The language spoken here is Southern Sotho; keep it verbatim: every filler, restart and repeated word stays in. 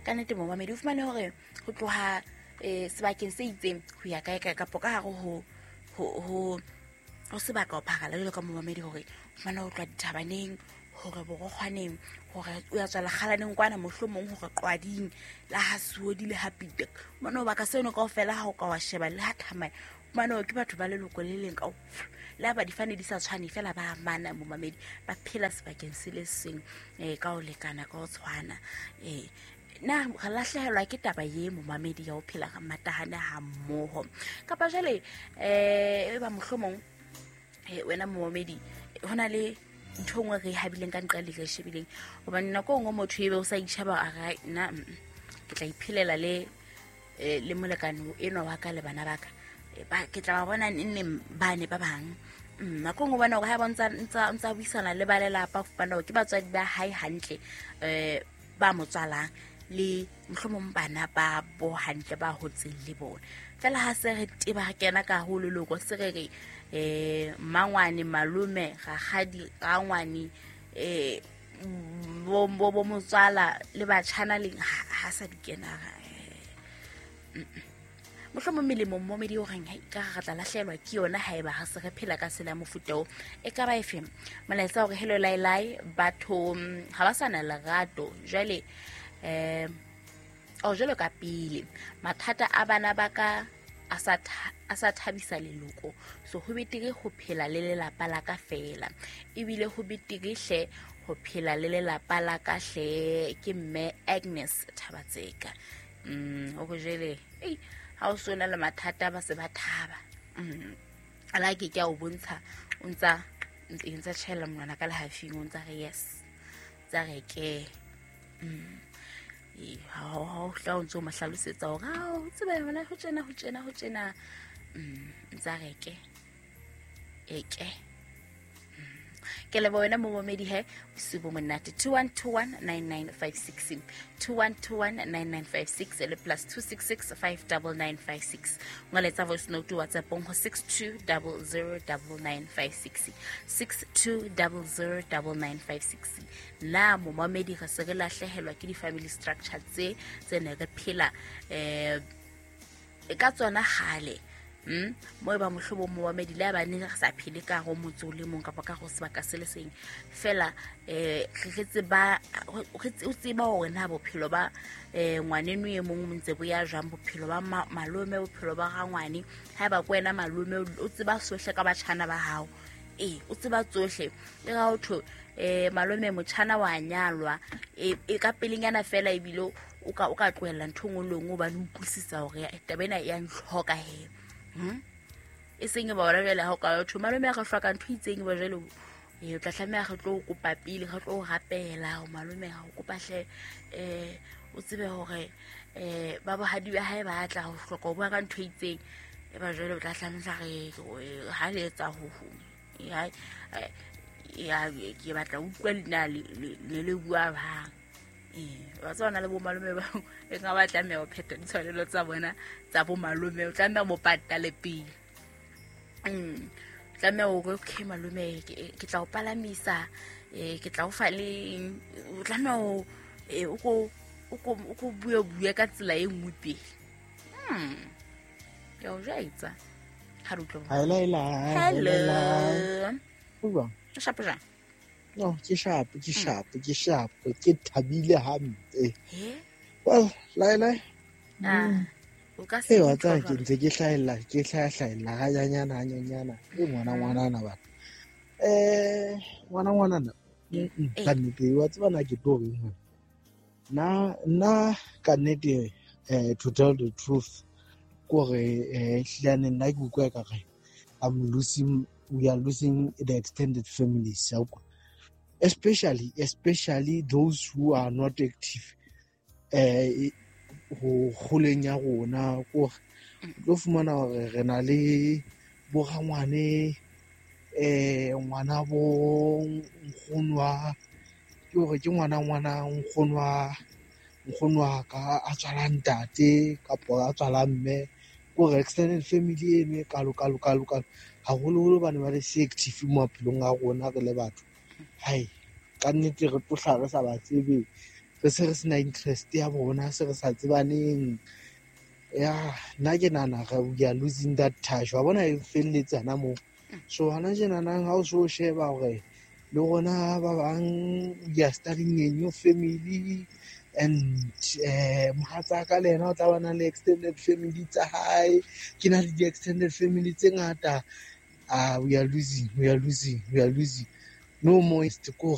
Ka nnete momamedi, o fumane hore ho tloha um sebakeng se itseng ho ya kae kae kapo ka hare ho ho ho ho sebaka ho pharala jwalo ka momamedi, hore o fumane ho tloha dithabaneng hore borokgwaneng, hore o ya tswela kgalaneng kwana, mohlomong hore qwading la ha Suodi le ha Pitek. Mane baka seno kaofela ha o ka wa sheba le ha thamaya, fumane hore ke batho ba leloko le leng kao, le ha ba difane di sa tshwane fela ba amana momamedi, ba phela sebakeng se le seng um ka ho lekana, ka ho tshwana. um Na re lahlehelwa ke taba ye momamedi ya ho phela re matahane ha mmoho, kapa jwale um e ba mohlomong eh, wena momamedi ho na le ntho e nngwe re e habileng ka nqa le re e shebileng, hobane nako e nngwe motho ebe o sa itjheba a re, "Ai, nna mm, ke tla iphelela le eh, le molekane enwa wa ka le bana ba ka. Eh, ba- ke tla ba bona neng neng bane ba bang." Mm, nako e nngwe o bona hore ha ba ntsa ntsa ntsa buisana le ba lelapa, o fumana hore ke batswadi ba hae hantle um ba mo tswalang le mohlomong bana ba bo hantle ba hotseng le bona. Fela ha se re teba re kena ka ho leloko, se re re um mmangwane, malome, rakgadi, rangwane, um bo bo- bo motswala le batjhana leng, ha ha sa di kena eh, mohlomong melemo momedi o reng hai ka re tla lahlehelwa ke yona haeba ha se re phela ka tsela ya mofuta o. E ka ba efe molaetsa hore hello lailai, batho mm, ha ba sa na lerato jwale um o jwalo ka pele. Mathata a bana ba ka a sa tha- a sa thabisa leloko, so ho betere ho phela le lelapa la ka fela, ebile ho betere hle ho phela le lelapa la ka hle. Ke mme Agnes Thabatseka. mm o re jwale ei ha o so na le mathata ba se ba thaba. mm ala ke ke a o bontsha, o ntsa e ntsa tjhaela monwana ka lehafing, o ntsa re yes, tsa re ke mm ee, ha ha o hla o ntso mo hlalosetsa hore ha o tseba yona ho tjena ho tjena ho tjena. mm ntsa re ke e ke ke leboha wena momamedi. He bosiu bo monate. two one two one nine nine five six, two one two one nine nine five six le plus two six six five double nine five six. Ngoletsa voice note WhatsAppong ho six two double zero double nine five six, six two double zero double nine five six. Na momamedi re se re lahlehelwa ke di-family structure tse tse ne re phela um ka tsona kgale? mm mo e ba mohlomong momamedi le ha ba ne re sa phele ka go motse o le mong kapa ka go sebaka se le seng fela, um re tseba re tse- o tseba hore na bophelo ba um ngwaneno e mong bo ntse bo ya jwang, bophelo ba ma- malome, bophelo ba rangwane. Ha eba ke wena malome, o tseba sohle ka batjhana ba hao. Ee, o tseba tsohle. E ga ho thwe um malome motjhana wa nyalwa, e e ka pelenyana fela, ebile o ka o ka tlohella ntho e nngwe le nngwe hobane o utlwisisa hore eh, taba ena e ya ntlhoka he. Hmm? E seng e ba hona jwale ha o ka thwe malome a re hloka ntho e itseng, e ba jwale e o tla tlameha re tlo o kopa pele, re tlo o rapela ho malome, ha o kopa hle um o tsebe hore um ba bohadi ba hae ba tla ho hloka ho bua ka ntho e itseng. E ba jwale o tla tlameha re re- ha le etsa ho ho ya eh, ya ke batla ho utlwa leina le le le bua bang. Ee, wa tseba hona le bo malome ba e ka ba tlameha ho phetha ditshwanelo tsa bona tsa bo malome, o tlameha mo patale pele. Mm tlameha hore okay malome, ke ke tla o palamisa, eh ke tla o fa le eng. O tlameha ho eh, o ko o ko o ko bue bue ka tsela e nngwe pele. hmm ke a o jwetsa ha re utlwe. Hello, Hello. Ho jwang? O shapo jwang? No, ke sharp, ke sharp, ke sharp, ke thabile hampe. He. Well, lai lai. Ah, o ka se Ee, wa utlwa tseba ke jwalo. ntse ke hlahella, ke hlaha-hlahella hanyanyana hanyanyana. E ngwana ngwanana bana. Eh, ngwana ngwanana. Mm, mm, Eh. Ka nnete wa tseba na ke tlo reng hore. Nna nna ka nnete, eh to tell the truth, kore eh hlilane nna ke utlwa ekare I'm losing we are losing the extended families ya utlwa. Especially especially those who are not active eh ho kgoleng ya rona, kore o tlo fumana hore re na le bo rangwane, eh ngwana bo nkgono wa, ke hore ke ngwana ngwana nkgono wa nkgono wa ka a tswalang ntate kapa a tswalang mme, kore extended family eno e kalo kalo kalo kalo haholoholo bane ba le se active maphelong a rona re le batho. Hai, ka nnete re tlo hlaha re sa ba tsebe. Re se re sena interest ya bona, se re sa tsebaneng. Ya nna ke nahana re we are losing that touch, wa bona, e felletse hana moo. So hana tjenanang ha o so sheba hore le rona ba bang we are starting a new family, and eh mohatsaka le yena o tla ba na le extended family tsa hae, ke na le di-extended family tse ngata. Ah, we are losing, we are losing, we are losing. No more kore.